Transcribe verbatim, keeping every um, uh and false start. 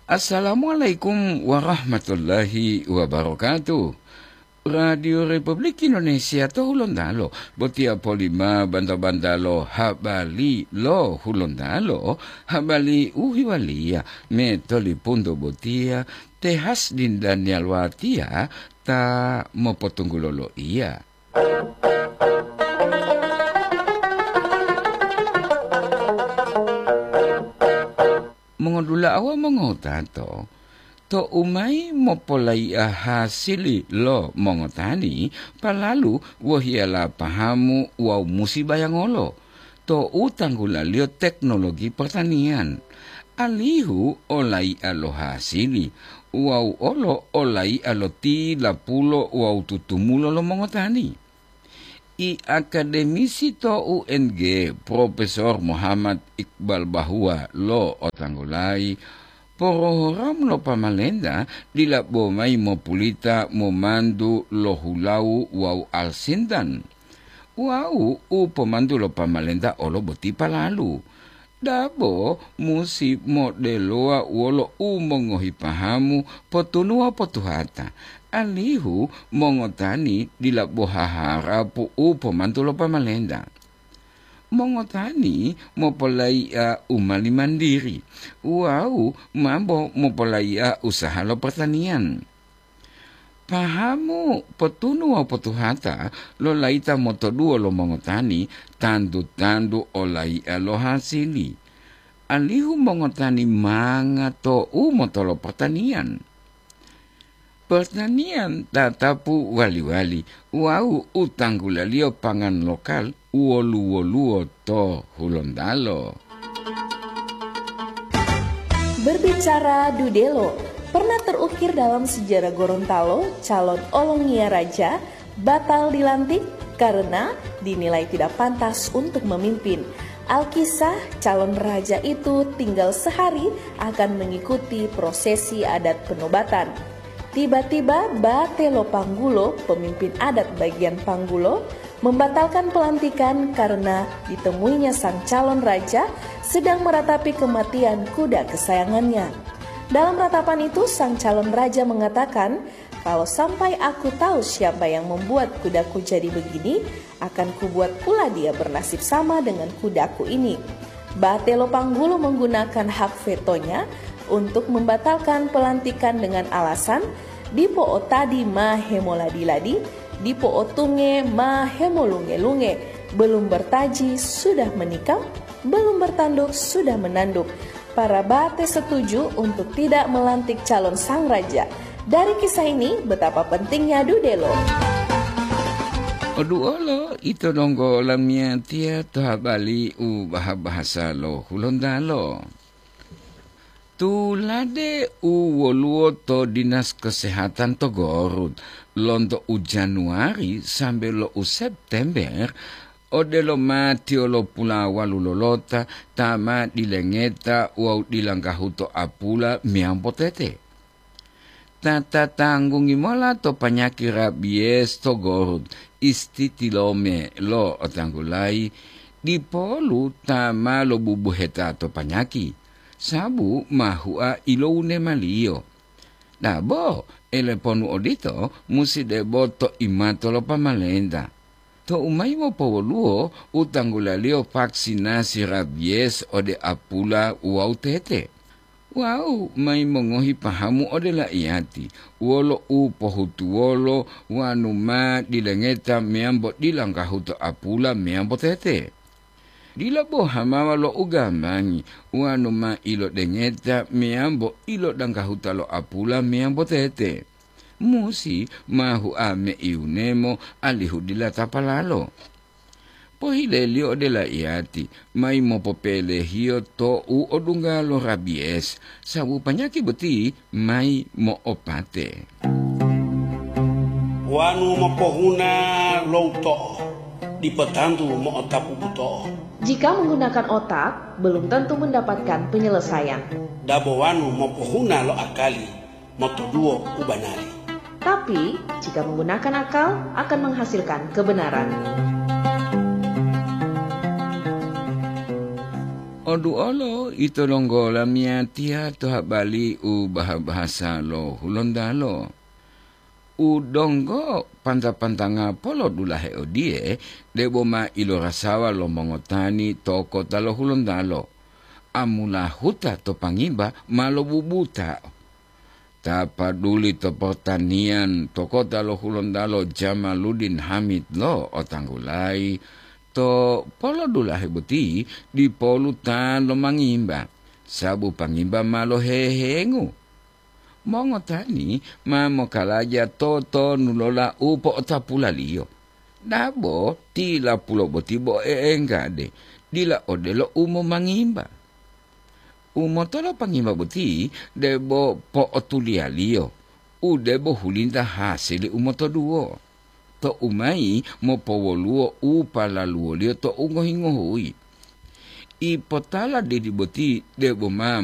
Assalamualaikum warahmatullahi wabarakatuh. Radio Republik Indonesia to Hulontalo, botiya polima banta-bantalo habari lo Hulontalo, habari u hiwaliya metolipunto botiya te Hasdin Daniel Watiya ta mopotunggulo loiya. Mongodula'a wawu mongotato, tou mayi mopolai'a hasili lo mongotani, palalu wohiyala pahamu wawu musi bayangolo tou tanggulaliyo teknologi pertanian, alihu olai'a lo hasili wawu olo olai'a lo tilapulo wawu tutumulo lo mongotani. I akademisi to U N G, Profesor Muhammad Iqbal Bahwa lo otanggulayi, porohoram lo pamalenta dila bo mayi mopulita momantu lo hulawu wawu alsintan. Wawu u pomantu lo pamalenta olo boti palalu. Dabo musi modelowa wolo u mongohi pahamu potunu wawu potuhata, alihu mongotani dila bo haharapu u pomantu lo pamalenta. Mongotani mopolai'a u mali mandiri wawu mambo mopolai'a usaha lo pertanian. Pahamu potunu wawu potuhata lo layita motoduwo lo mongotani tantu-tantu olai'a lo hasili, alihu mongotani manga to u motolo pertanian. Pertanian tatapu wali-wali wawu u tanggulaliyo pangan lokal wolu-woluwo to Hulontalo. Berbicara dudelo, pernah terukir dalam sejarah Gorontalo, calon olongiya raja batal dilantik karena dinilai tidak pantas untuk memimpin. Alkisah, calon raja itu tinggal sehari akan mengikuti prosesi adat penobatan. Tiba-tiba Bate Lopanggulo, pemimpin adat bagian Panggulo, membatalkan pelantikan karena ditemuinya sang calon raja sedang meratapi kematian kuda kesayangannya. Dalam ratapan itu, sang calon raja mengatakan, "Kalau sampai aku tahu siapa yang membuat kudaku jadi begini, akan kubuat pula dia bernasib sama dengan kudaku ini." Batelo Panggulo menggunakan hak vetonya untuk membatalkan pelantikan dengan alasan, "Dipo otadi ma hemoladi-ladi, dipo otunge ma hemolunge-lunge, belum bertaji sudah menikam, belum bertanduk sudah menanduk." Para Bate setuju untuk tidak melantik calon sang raja. Dari kisah ini, betapa pentingnya dudelo. Oduolo ito donggo lamiyatiya to habari u baha-bahasa lo Hulontalo. Tulade u woluwo to Dinas Kesehatan to Gorut, lonto u Januari sambe lo u September, odelo matiyo lo pulawalu lolota ta ma dilengeta wawu dilanggahuto apula meyambo tete. Ta tatanggungi mola to panyaki rabies to Gorut, istitilome lo otanggulayi, dipolu ta ma lobubuheta to panyaki, sabu ma hua ilowunemaliyo. Dabo, eleponu odito musi debo to imato lo pamalenta. Tou mayi mopowoluwo u tanggulaliyo vaksinasi rabies ode apula wawu tete. Wawu mayi mongohi pahamu ode laiyati, wolo u pohutuwolo wanu ma dilengeta meyambo dilanggahuto apula meyambo tete. Dila bo hamawa lo ugambangi wanu ma ilodengeta meyambo ilodanggahuta lo apula meyambo tete. Musi ma hua meiyunemo alihu dila tapalalo. Pohileliyo ode laiyati, mayi mopopelehiyo to u odungga lo rabies, sabu panyaki boti mayi mo'opate. Wanu mopohuna lo uto'o, dipo tantu mo'otapu buto'o. Jika menggunakan otak, belum tentu mendapatkan penyelesaian. Dabo wanu mopohuna lo akali, motoduwo u banari. Tapi, jika menggunakan akal, akan menghasilkan kebenaran. Oduolo ito donggo lamiyatiya to habali u baha-bahasa lo Hulontalo. U donggo panta-pantanga polodulahe odiye, debo ma ilorasawa lo mongotani to kota lo Hulontalo. Amulahuta to pangimba ma lobubuta. Ta paduli to pertanian to kota lo Hulontalo Jamaluddin Hamid lo otanggulayi, to polodulahe boti dipolu ta lomangimba, sabu pangimba ma lohehengu. Mongotani ma mokalaja totonulola u po'otapulaliyo. Dabo tilapulo boti bo e'enggade, dila odelo u momangimba. U motolo pangimba boti debo po'otuliyaliyo, u debo hulinta hasili u motoduwo. To umayi mopowoluwo u palaluwoliyo to u ngohi-ngohuyi. Ipotala didi boti debo ma